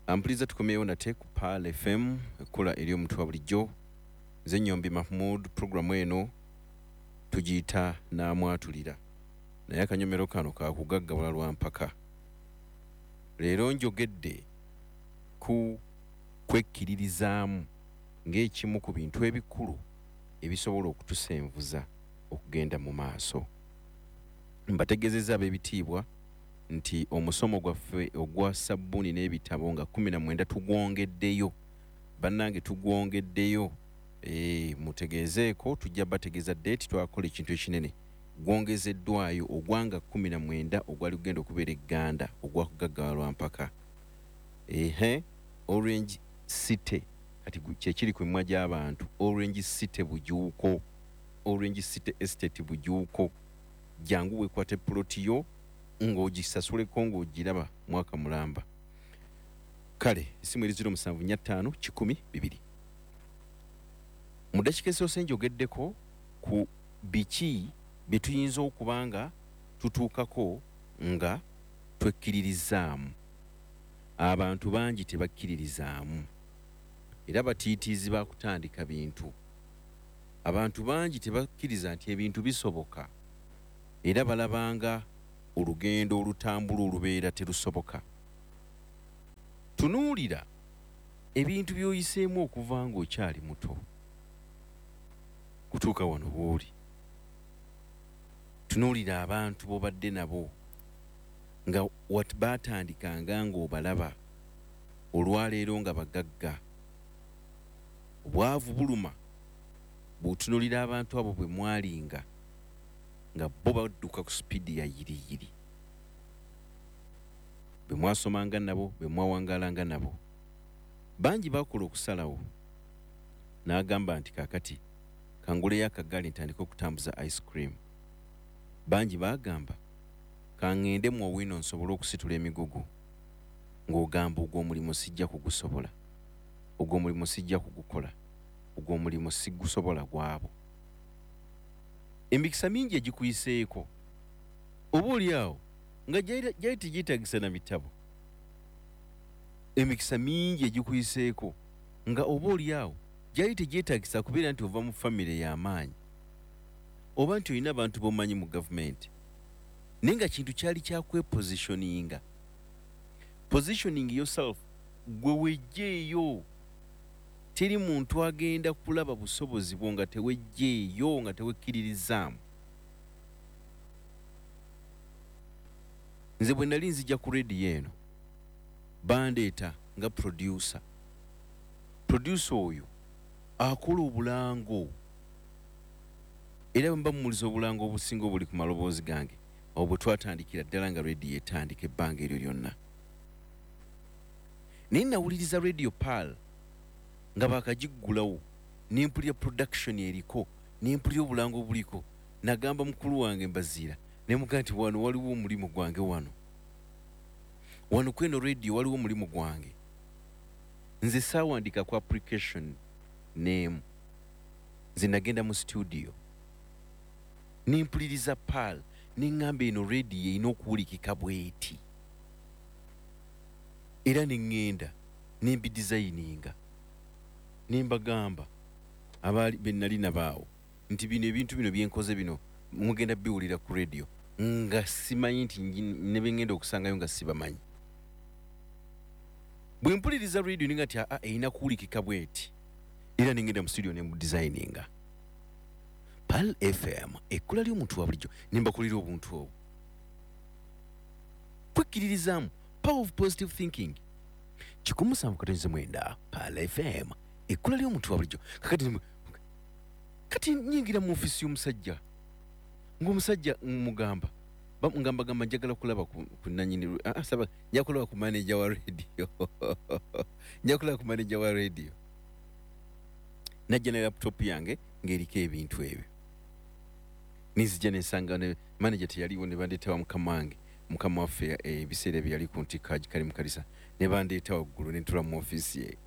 Ampuliriza, tukomyewo nate ku Pearl FM, ekkula eri omuntu wa bulijjo. Nze Nyombi Mahmud. Puroguramu eno tugiyita Naamwatulira, naye akanyomero kano kakugaggawala lwa mpaka. Leero njogedde ku kwekkiririzaamu ng'ekimu ku bintu ebikulu ebisobola okutusenvuza okugenda mu maaso. Mbategeezezza, ab'ebitiibwa, nti omusomo gwaffe ogwa sabbuuni n'ebitabo nga 19 tugwongeddeyo. Bannange, tugwongeddeyo. Mutegeezeeko, tujja bategeeza date. Twakola ekintu ekinene, gwongezeddwayo ogwanga 19 ogwali gugenda okubeera egganda ogwakugaggawala lwa mpaka. Ehe, Orange City kati kyekiri ku mimwa gy'abantu, Orange City Bujuuko, Orange City Estate Bujuuko. Jangu weekwate puloti yo ng'ogisasuleko ng'ogiraba mwaka mulamba. Kale esimu eri 0745 100 2. Mu ddakiika esoose njogeddeko ku biki bye tuyinza okuba nga tutuukako nga twekkiririzaamu. Abantu bangi tebakkiririzaamu era batiitiizi bakutandika bintu. Abantu bangi tebakkiriza nti ebintu bisoboka era balabanga olugendo olutambula olubeera terusoboka. Tunuulira ebintu by'oyiseemu okuva ng'okyali muto kutuuka wano w'oli. Tunuulira abantu b'obadde nabo nga wat baatandikanga ng'obalaba olwaleero nga bagagga. Obwavu buluma bw'otunuulira abantu abo bwe mwalinga nga bo badduka ku sipiidi ya yiriyiri, bwe mwasomanga nabo, bwe mwawangaalanga nabo. Bangi bakola okusalawo n'agamba nti, "Kaakati kanguleyo akagaali ntandike okutambuza ice cream." Bangi baagamba, "Kaŋŋende mu Owino nsobole okusitula emigugu," ng'ogamba, "Ogwo omulimu sijja kugusobola, ogwo omulimu sijja kugukola, ogwo omulimu sigusobola." Gwabo emikisa mingi egikuyiseeko oba oli awo nga gyali tegyetagisa na bitabo. Emikisa mingi egikuyiseeko nga oba oli awo gyali tegyetagisa kubeera nti ova mu famire y'amaanyi oba nti olina abantu b'omanyi mu gavumenti, naye nga kintu kyali kyakwepositioninga, positioning yourself. Gwe wejjeeyo. Teri muntu agenda kulaba busobozi bwo nga tewejjeeyo, nga tewekkiririzaamu. Nze bwe nali nzija ku rediyo eno, bandeeta nga producer. Producer oyo akola obulango, era bwe mba mumuliza obulango obusinga obuli ku maloboozi gange awo bwe twatandikira ddala nga rediyo etandika ebbanga eryo lyonna. Naye nawuliriza Radio Pearl nga bakagiggulawo, nempulira production eriko, nempulira obulango obuliko. Nagamba mukulu wange Mbaziira, nemugaa nti, "Wano waliwo omulimu gwange, wano wano kweno radio waliwo omulimu gwange." Nze saawandika ku application neemu. Nze nagenda mu studio nempuliriza Pearl, neŋŋamba, "Eno radio erina okuwulikika bweti." Era neŋŋenda nembidesigninga, nembagamba abaali benali nabaawo nti, "Bino ebintu bino byenkoze bino mugenda biwulira ku radio," nga simanyi nti ne bengenda okusangayo nga sibamanyi. Bwe mpuliriza radio ninga nti, "Aa, erina kuwulikika bweti." Era nengenda mu studio nemudesigninga Pearl FM, ekkula ly'omuntu wa bulijjo, nembakulira obuntu obwo. Kwekkiririzaamu, power of positive thinking. 107.9 Pearl FM, ekkula ly'omuntu wa bulijjo. Kakati kati nyingira mu ofiisi y'omusajja, ng'omusajja mugamba, ngamba gamba, "Njagala kulaba ku nanyini." Ah, saba, "Nja kulaba ku manager wa radio, nja kulaba ku manager wa radio." Najja ne laptop yange ng'eriko ebintu ebyo. Nizija nensanga ne manager teyaliwo, ne bandeeta wa mukama wange, mukama waffe ebiseera ebyo yali ku ntikko agikali mu kanisa, ne bandeeta waggulu ne ntula mu ofiisi ye.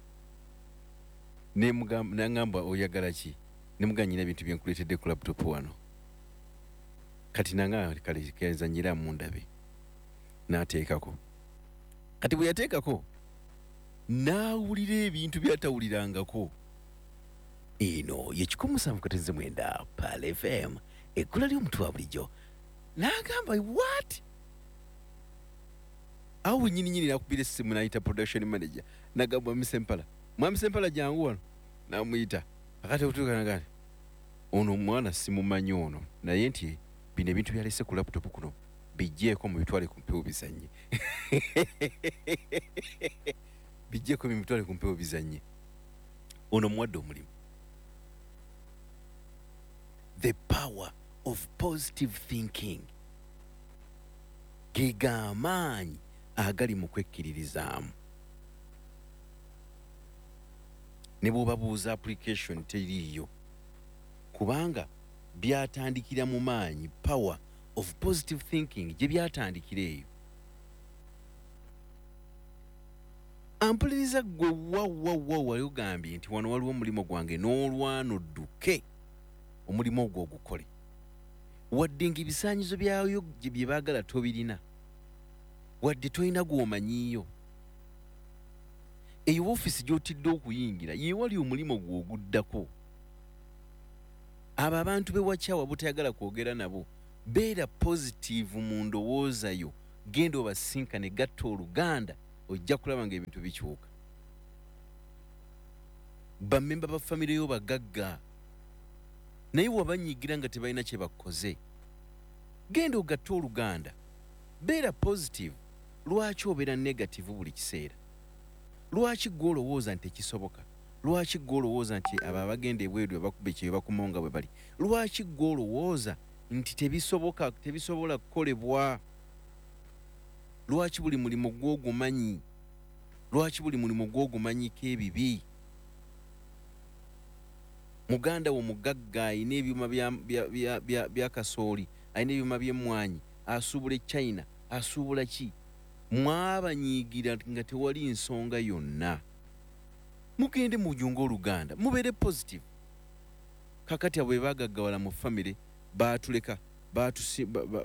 Naŋŋamba, "Oyagala ki?" Nemugamba, "Nyina ebintu byenkuleetedde ku laptop wano." Kati nanga, "Kale kenzanyiramu ndabe." N'ateekako. Kati bwe yateekako N'awulira ebintu by'atawulirangako. Eno ye 107.9 Pearl FM, ekkula ly'omuntu wa bulijjo. N'agamba, what? Awo wennyini nnyini n'akubira essimu n'ayita production manager, n'agamba Mwami Sempala, Mwami Sempala jangu wano. N'amuyita. Akati okutuuka n'agamba nti, ono omwana simumanyi ono, naye nti bino ebintu byalese ku laptop kuno bijjeeko mubitwale ku mpewo bizannye. Bijjeeko mubitwale ku mpewo bizannye. Ono muwadde omulimu. The power of positive thinking. Ge g'amaanyi agali mu kwekkiririzaamu. Ne bw'obabuuza application teriiyo. Kubanga byatandikira mu maanyi, power of positive thinking gye byatandikira eyo. Ampuliriza ggwe wa, wa, wa, wali ogambye nti wano waliwo omulimu gwange n'olwana odduke omulimu ogwo ogukole. Wadde ng'ebisaanyizo byayo bye baagala tobirina, wadde tolina gw'omanyiiyo. Eyo woofiisi gy'otidde okuyingira ye wali omulimu gwo oguddako. Abo abantu be wakyawa butayagala kwogera nabo, beera positive mu ndowooza yo, genda obasinkane, gatta oluganda, ojja kulaba ng'ebintu bikyuka. Bammemba ba famire yo bagagga, naye wabanyiigira nga tebalina kye bakoze. Genda ogatte oluganda, beera positive. Lwaki obeera negative buli kiseera? Lwaki ggwe olowooza nti tekisoboka? Lwaki ggwe olowooza nti abo abagenda ebweru bakuba ekyeyo bakomawo nga bwe bali? Lwaki ggwe olowooza nti tebisoboka, tebisobola kukolebwa? Lwaki buli mulimu gw'ogumanyi? Lwaki buli mulimu gw'ogumanyiko ebibi? Muganda wo mugagga alina ebyuma bya kasooli, alina ebyuma by'emmwanyi, asuubula e China, asuubula ki? Mwabanyiigira nga tewali nsonga yonna. Mugende mujunge oluganda, mubeere positive. Kakati abo bwe bagaggawala mu famire, baatuleka,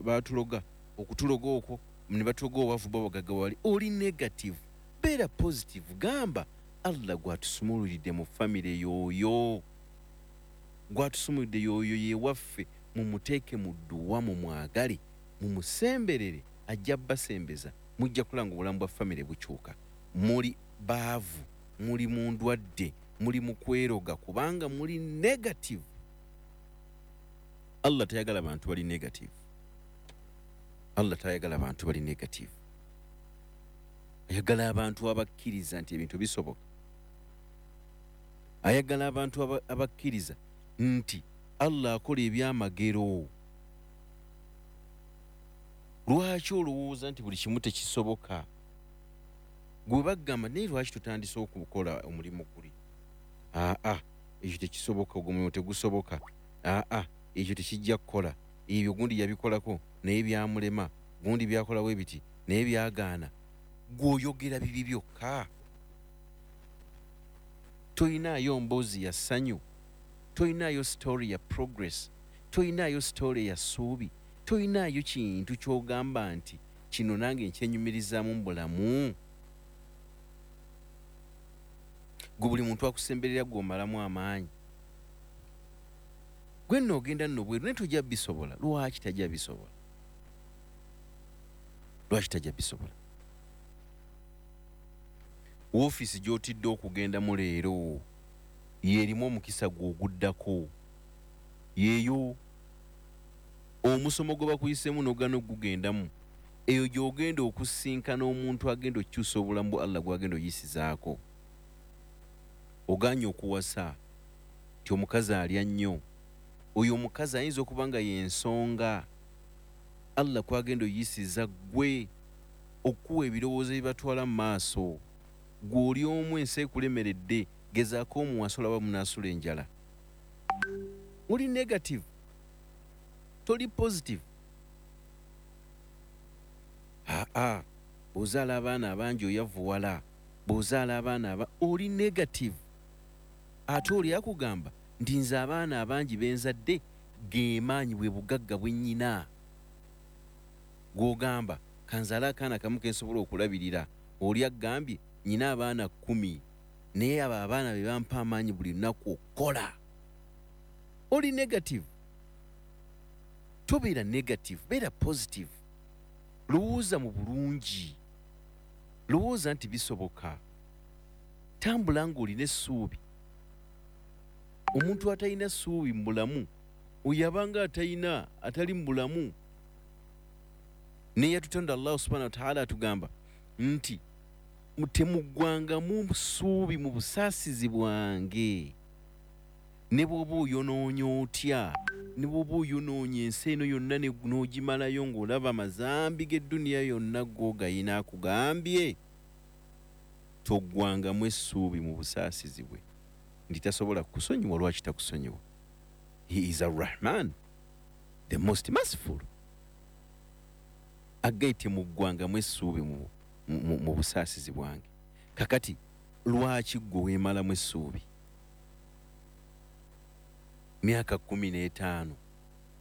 baatuloga, okutuloga okwo ne batuloga obwavu bwa bagaggawali. Oli negative, beera positive. Gamba Allah gwatusumululidde mu famire y'oyo, gwatusumulidde y'oyo ye waffe, mumuteeke mu dduwa, mumwagale, mumusemberere, ajja basembeza, mujja kulaba nga obulamu bwa famire bukyuka. Muli baavu, muli mu ndwadde, muli mu kweroga kubanga muli negative. Allah tayagala bantu bali negative. Allah tayagala bantu bali negative. Ayagala abantu abakkiriza nti ebintu bisoboka. Ayagala abantu abakkiriza nti Allah akola ebyamagero. Lwaki olowooza nti buli kimu tekisoboka? Gwe bagamba naye lwaki tutandise okukola omulimu guli? Aa, ekyo tekisoboka, ogwo mulimu tegusoboka. Aa, ekyo tekijja kukola. Ebyo gundi yabikolako naye byamulema, gundi byakolawo ebiti naye byagaana. Gw'oyogera bibi byokka. Toyinaayo mboozi ya ssanyu, toyinaayo story ya progress, toyinaayo story ya ssuubi, toyinaayo kintu ky'ogamba nti kino nange nkyenyumirizaamu mu bulamu. Gwe buli muntu akusemberera gw'omalamu amaanyi. Gwe nno ogenda nno bweru naye tojja bisobola. Lwaki tajja bisobola? Lwaki tajja bisobola? Woofiisi gy'otidde okugendamu leero y'erimu omukisa gwe oguddako. Yeeyo omusomo gwe bakuyiseemu n'ogaana okugugendamu, eyo gy'ogenda okusinkana omuntu agenda okukyusa obulamu bwa Allah gw'agenda oyisizaako. Ogaanye okuwasa nti omukazi alya nnyo. Oyo omukazi ayinza okuba nga y'ensonga Allah kw'agenda oyisiza ggwe okuwa ebirowoozo ebibatwala mu maaso. Ggwe oli omu ensi ekulemeredde, gezaako omuwasa olaba munaasula enjala. Oli negative, toli positive. Aa, bw'ozaala abaana abangi oyavuwala, bw'ozaala abaana oli negative. Ate oli akugamba nti nze abaana abangi benzadde ge maanyi bwe bugagga bwe nnyina. Gw'ogamba kanzaale akaana kamu ke nsobola okulabirira, oli agambye Nyina abaana 10, naye abo abaana be bampa amaanyi buli lunaku okukola. Oli negative, tobeera negative, beera positive. Lowooza mu bulungi, lowooza nti bisoboka, tambula ng'olina essuubi. Omuntu atalina ssuubi mu bulamu oyo abanga atalina, atali mu bulamu. Neyatutonda Allahu subhanahu wa ta'ala atugamba nti temuggwangamu ssuubi mu busaasizi bwange. Ne bw'oba oyonoonya otya, ne bw'oba oyonoonya ensi eno yonna n'ogimalayo ng'olaba amazambi g'edduniya yonna g'ogayina, akugambye toggwangamu essuubi mu busaasizi bwe nti tasobola kukusonyiwa. Lwaki takusonyiwa? He is Arrahman, the most merciful. Aggaye temuggwangamu essuubi mu busaasizi bwange. Kakati lwaki ggwe weemalamu essuubi? Myaka 15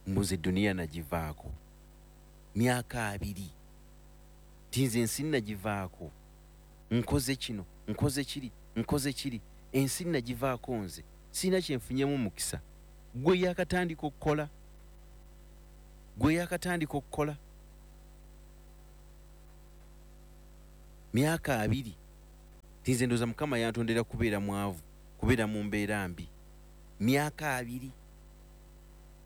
mbuze duniya nagivaako, myaka 20 tinze ensi nagivaako, nkoze kino, nkoze kiri, nkoze kiri, ensi nagivaako, nze sirina kyenfunyemu mukisa. Gwe yakatandika okukola, gwe yakatandika okukola myaka 20 tinze ndowooza Mukama yantondera kubeera mwavu, kubeera mu mbeera mbi. Myaka 20,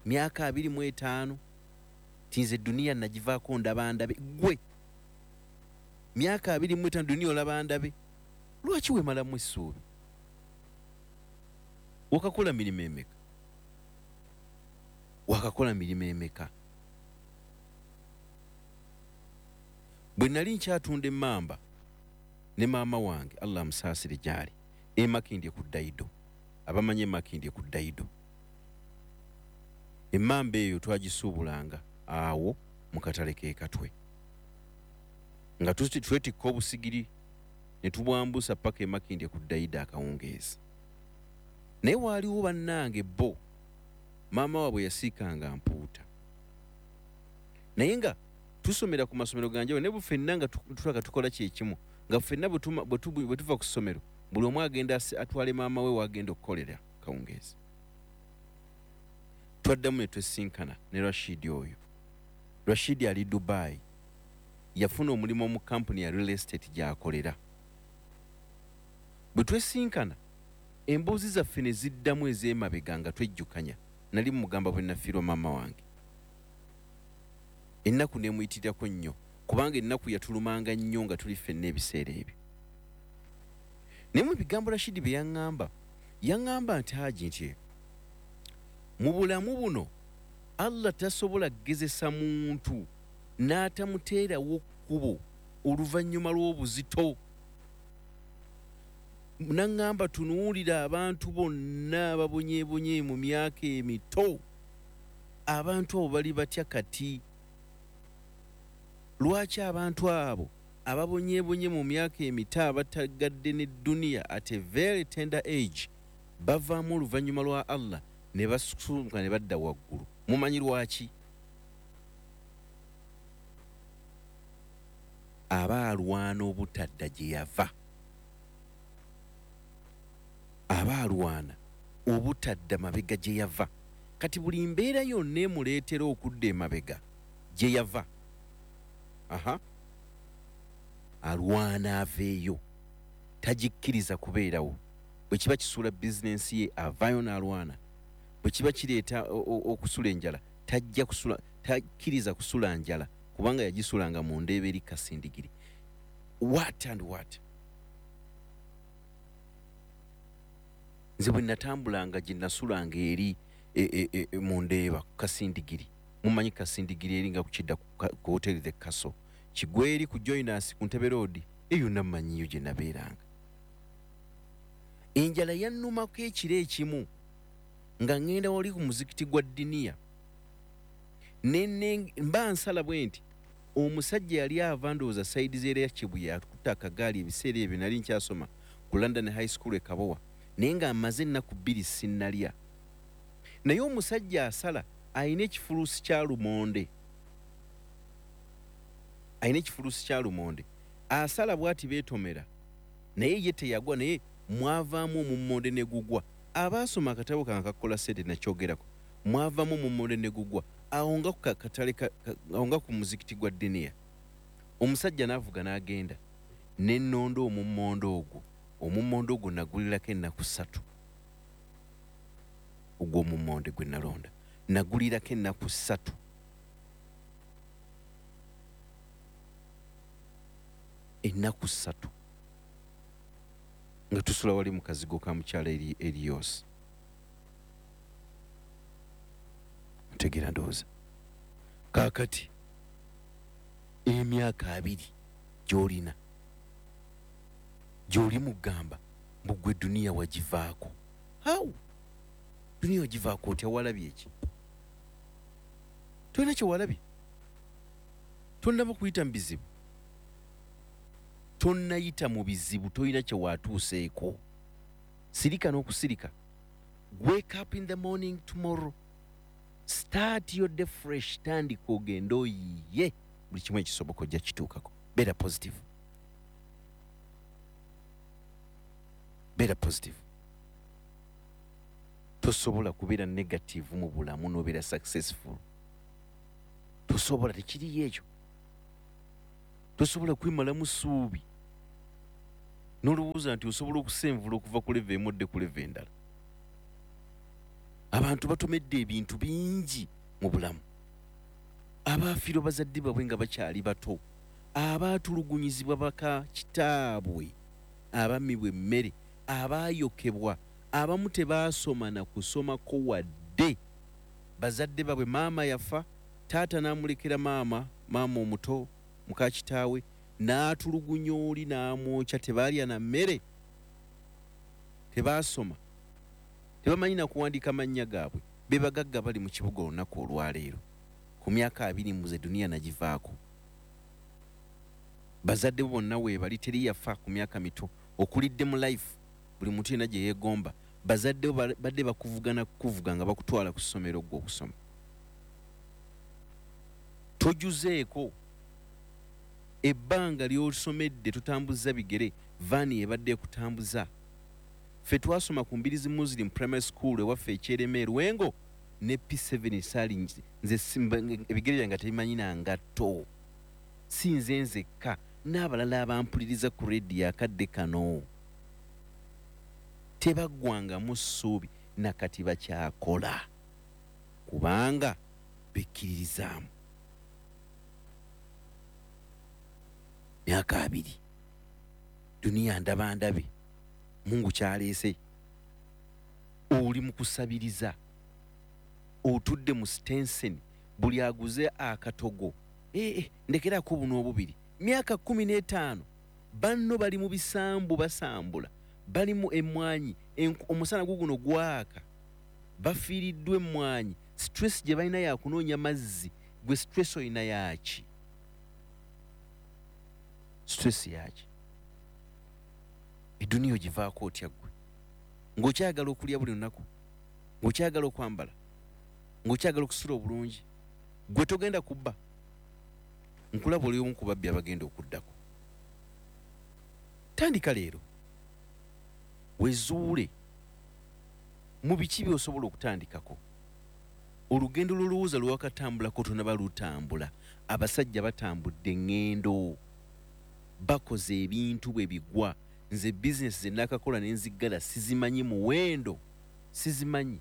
myaka 25 tinze duniya nagivaako ndaba ndabe. Gwe myaka 25 duniya olaba ndabe, lwaki weemalamu essuubi? Wakakola mirimu emeka? Wakakola mirimu emeka? Bwe nali nkyatunda emmamba ne maama wange, Allah amusaasire gy'ali, emakindye ku Daido, abamanyi emakindye ku Daido, emmamba eyo twagisuubulanga awo mu katale k'e Katwe, nga twetikka obusigiri ne tubwambusa paka emakindye ku Daido akawungeezi. Naye waaliwo bannange bo maama waabwe yasiikanga mpuuta, naye nga tusomera ku masomero ganjawulo, ne ffenna nga tulaka tukola kyekimu, nga ffenna bwe tuva ku ssomero buli omu agenda atwale maama we wagenda okukolera kawungeezi. Twaddamu ne twesinkana ne Rashidi oyo. Rashidi ali Dubai, yafuna omulimu mu kampuni ya real estate gy'akolera. Bwe twesinkana emboozi zaffe ne ziddamu ez'emabega nga twejjukanya. Nali mugamba bwe nafiirwa maama wange, ennaku neemuyitirako nnyo, kubanga ennaku yatulumanga nnyo nga tuli ffenna ebiseera ebyo. Naye mu bigambo Rashidi bye yaŋŋamba, yaŋŋamba nti Haji, nti mu bulamu buno Allah tasobola kugezesa muntu n'atamuteerawo kkubo oluvannyuma lw'obuzito. Naŋŋamba tunuulira abantu bonna ababonyeebonye mu myaka emito, abantu abo bali batya kati? Lwaki abantu abo ababonyeebonye mu myaka emito abatagadde ne duniya at a very tender age bavaamu oluvannyuma lwa Allah ne basuka ne badda waggulu? Mumanyi lwaki? Aba alwana obutadda gye yava, aba alwana obutadda mabega gye yava. Kati buli mbeera yonna emuleetera okudda emabega gye yava, aha, alwana aveeyo, tagikkiriza kubeerawo. Bwe kiba kisuula bizinensi ye avaayo n'alwana, bwe kiba kireeta okusula enjala tajja kusula, takkiriza kusula njala kubanga yagisulanga mu ndeeba eri Kasindigiri. What and what? Nze bwe natambulanga gye nasulanga eri mu ndeeba Kasindigiri, mumanyi Kasindigiri eri nga kukidda ku Hotel The Castle, Kigweri ku Joiners ku Ntebe Road, eyo nammanyiyo gye nabeeranga. Enjala yannumako ekiro ekimu nga ŋŋenda wali ku muzikiti gwa Diniya, mba nsala bwe nti omusajja yali ava ndowooza sayidi z'era ya Kibuye, akutte akagaali. Ebiseera ebyo nali nkyasoma ku London High School e Kabowa, naye nga mmaze ennaku 2 sinnalya. Naye omusajja asala alina ekifuluusi kya lumonde, alina ekifuluusi kya lumonde, asala bw'ati beetomera. Naye ye teyagwa, naye mwavaamu omummonde ne gugwa. Abaasoma akatabo kange akakola ssente nakyogerako. Mwavaamu omummonde ne gugwa awo nga ku katale, awo nga ku muzikiti gwa Diniya. Omusajja n'avuga n'agenda ne nnonda omummonde ogwo. Omummonde ogwo nagulirako ennaku 3. Ogwo omummonde gwe nalonda nagulirako ennaku 3. Ennaku 3 nga tusula wali mu kazigo ka mukyala Erios. Ntegeera ndowooza. Kaakati emyaka 20 gy'olina gy'oli mugamba mbu gwe duniya wagivaako. How? Duniya wagivaako otya? Walabye ki? Tolina kye walabye. Tonnaba kuyita mu bizibu. Tonnayita mu bizibu, tolina kye watuuseeko. Sirika n'okusirika. Wake up in the morning tomorrow. Start your day fresh. Tandika ogende oyiye. Buli kimu ekisoboka ojja kituukako. Beera positive. Beera positive. Tosobola kubeera negative mu bulamu n'obeera successful. Tosobola, tekiriyo ekyo. Tosobola kwemalamu ssuubi n'olowooza nti osobola okusenvula okuva ku level emu odde ku level endala. Abantu batomedde ebintu bingi mu bulamu. Abaafiirwa bazadde baabwe nga bakyali bato, abaatulugunyizibwa baka kitaabwe, abammibwa emmere, abaayokebwa, abamu tebaasoma na kusomako wadde. Bazadde baabwe, maama yafa, taata n'amulekera maama, maama omuto muka kitaawe, n'atulugunya oli n'amwokya, tebaalya na mmere, tebaasoma, tebamanyi na kuwandiika mannya gaabwe. Be bagagga bali mu kibuga olunaku olwaleero. Ku myaka 20 muze duniya nagivaako. Bazadde bo bonna weebali, teri yafa ku myaka mito. Okulidde mu life buli muntu yenna gye yeegomba. Bazadde bo badde bakuvugana kukuvuga nga bakutwala ku ssomero ggwe okusoma. Tojuzeeko. Ebbanga ly'osomedde totambuza bigere, vaani ebadde ekutambuza. Ffe twasoma ku Mbirizi Muslim Primary School ewaffe ekyerema e Lwengo ne P7 saali nze ebigere byange nga tebimanyi na ngatto. Si nze nzekka, n'abalala abampuliriza ku rediyo akadde kano tebaggwangamu ssuubi na kati bakyakola kubanga bekkiririzaamu. Myaka 20 duniya ndaba ndabe, Mungu kyaleese. Oli mu kusabiriza, otudde mu Stensen, buli aguze akatogo, ndekerako buno obubiri. Myaka 15 banno bali mu bisambu basambula, bali mu emmwanyi, omusana guguno gwaka, bafiiriddwa emmwanyi. Stress gye balina ya kunoonya mazzi, gwe stress olina yaaki? Stress yaaki? Eduniya ogivaako otya ggwe? Ng'okyagala okulya buli lunaku, ng'okyagala okwambala, ng'okyagala okusula obulungi, gwe togenda kubba. Nkulaba oli omu ku babbi abagenda okuddako. Tandika leero, wezuule mu biki by'osobola okutandikako. Olugendo lw'olowooza lwewakatambulako tonaba lutambula. Abasajja batambudde eŋŋendo, bakoze ebintu bwe bigwa. Nze bizinesi ze nakakola ne nziggala sizimanyi muwendo, sizimanyi.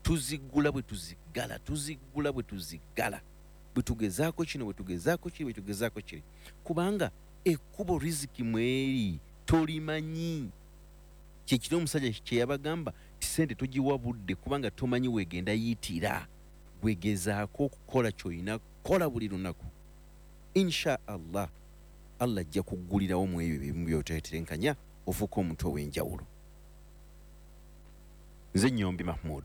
Tuziggula bwe tuziggala, tuziggula bwe tuziggala, bwe tugezaako kino, bwe tugezaako kiri, bwe tugezaako kiri, kubanga ekkubo riziki mweri tolimanyi. Kye kiri omusajja kye yabagamba ti ssente togiwa budde kubanga tomanyi weegenda yitira. Gwegezaako okukola ky'olina kukola buli lunaku. Insha Allah, Allah ajja kuggulirawo mu ebyo ebimu by'otetenkanya ofuuke omuntu ow'enjawulo. Nze Nnyombi Mahmood.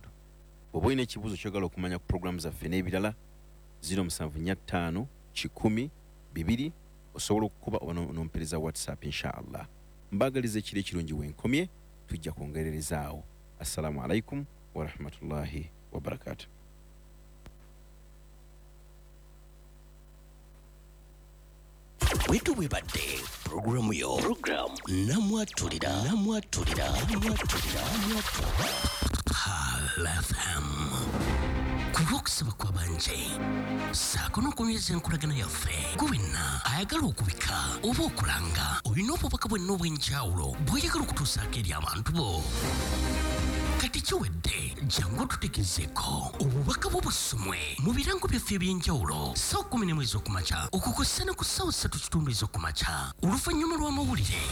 Bw'oba olina ekibuuzo ky'oyagala okumanya ku pulogulaamu zaffe n'ebirala, 0745 100 2 osobola okukuba oba n'ompeereza WhatsApp insha Allah. Mbaagaliza ekiro ekirungi wenkomye, tujja kwongererezaawo. Assalamu alaikum wa rahmatullahi wa barakatuh. Bwetu bwebadde pulogulaamu yo, pulogulaamu Namwatulira, Namwatulira, Namwatulira, Pearl FM. Ku lw'okusaba kw'abangi ssaako n'okunyweza enkolagana yaffe, gwe wenna ayagala okubika oba okulanga, olina obubaka bwenna obw'enjawulo bw'oyagala okutuusaako eri abantu bo, kati kiwedde. Jangu otutegezeeko obubaka bwo busomwe mu birango byaffe eby'enjawulo ssaawa 11 ez'okumakya okukosa ne ku ssaawa 3:15 ez'okumakya oluvannyuma lw'amawulire,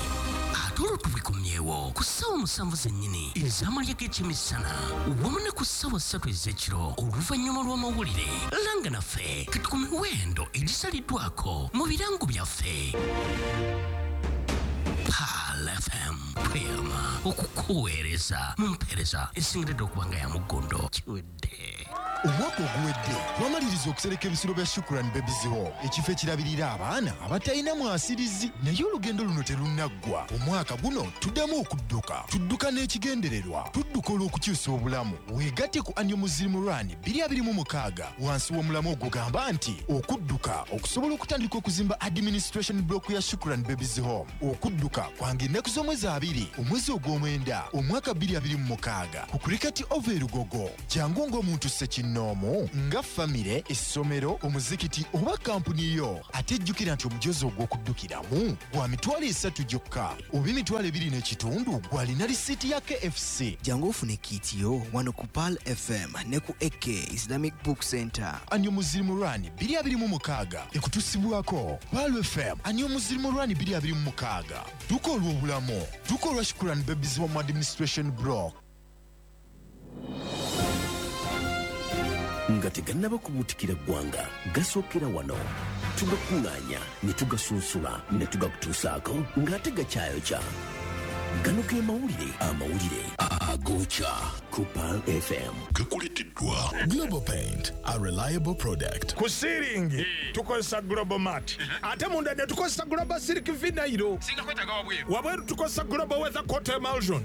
ate olwo tubikomyewo ku ssaawa 7 zennyini ez'amalya g'ekyemisana wamu ne ku ssaawa 3 ez'ekiro oluvannyuma lw'amawulire. Langa naffe kati ku miwendo egisaliddwako mu birango byaffe. Pearl FM, tweyama okukuweereza mu mpeereza esingiridde okuba nga ya muggondo. Kiwedde. Omwaka oguwedde twamaliriza okusereka ebisulo bya Shukran Babies Home, ekifo ekirabirira abaana abatalina mwasirizi. Naye olugendo luno terunnaggwa. Omwaka guno tuddamu okudduka. Tudduka n'ekigendererwa, tudduka olw'okukyusa obulamu. Weegatte ku Annual Muslim Run 2026 wansi w'omulamwa ogugamba nti okudduka okusobola okutandika okuzimba administration block ya Shukran Babies Home. Okudduka kwange ennaku z'omwezi 2 omwezi ogw'omwenda omwaka 2026 ku Cricket Oval e Lugogo. Jangu ng'omuntu ssekinnoomu, nga famire, essomero, omuzikiti oba kampuni yo. Ate jjukira nti omujozi ogw'okuddukiramu gwa 30,000 gyokka oba 25,000 gw'alina risiiti ya KFC. Jangu ofune kit yo wano ku Pearl FM ne ku AK Islamic Book Center. Annual Muslim Run 2026 ekutusibwako Pearl FM. Annual Muslim Run 2026, dduka olw'obulamu, dduka olwa Shukran Babies Home Administration Block. Nga tegannaba kubuutikira ggwanga, gasookera wano, tugakuŋŋaanya ne tugasunsula ne tugakutuusaako ng'ate gakyayokya. Gano ge mawulire, amawulire agokya ku Pearl FM. Gakuleteddwa Global Paint, a reliable product. Ku ceiling tukozesa Global Mat, ate munda ne tukozesa Global Silk Vinyl. Wabweru tukozesa Global Weather Coat Emulsion.